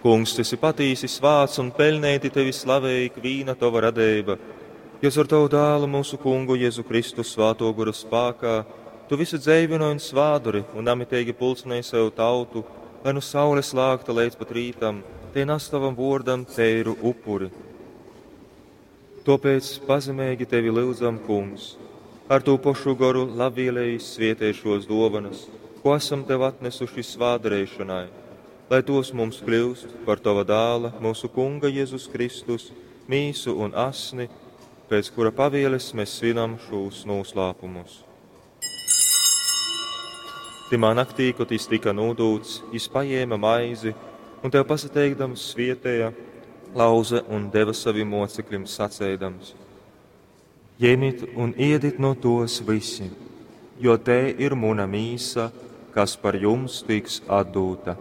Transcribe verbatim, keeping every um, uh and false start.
Kungs, tu esi patīsi svāts un peļneiti tevi slavej ikvīna tova radeiba, jo caur tavu dālu mūsu kungu Jēzu Kristu svātō gora spākā tu visu dzeivynoj un svādori un namiteigi pulcinej sev tautu, lai nu saules lākta leidz pat rītam, te nas tavam vōrdam teiru upuri. Tōpēc pazemeigi tevi lyudzam, Kungs, ar tū pošu goru labvēlīgi svietej šos dōvanas, ko esam tev atnesuši svātdareišanai, lai tos mums kļūst par tava dāla, mūsu Kunga Jēzus Kristus, mīsu un asni, pēc kura pavieles mēs svinam šos noslēpumus. Timā naktī, kad jis tika nūdūts, jis paņēma maizi un tev pasateikdams svietēja, lauze un deva saviem mocekļiem sacēdams: Ņemiet un iedit no tos visi, jo te ir muna mīsa, kas par jums tiks atdūta.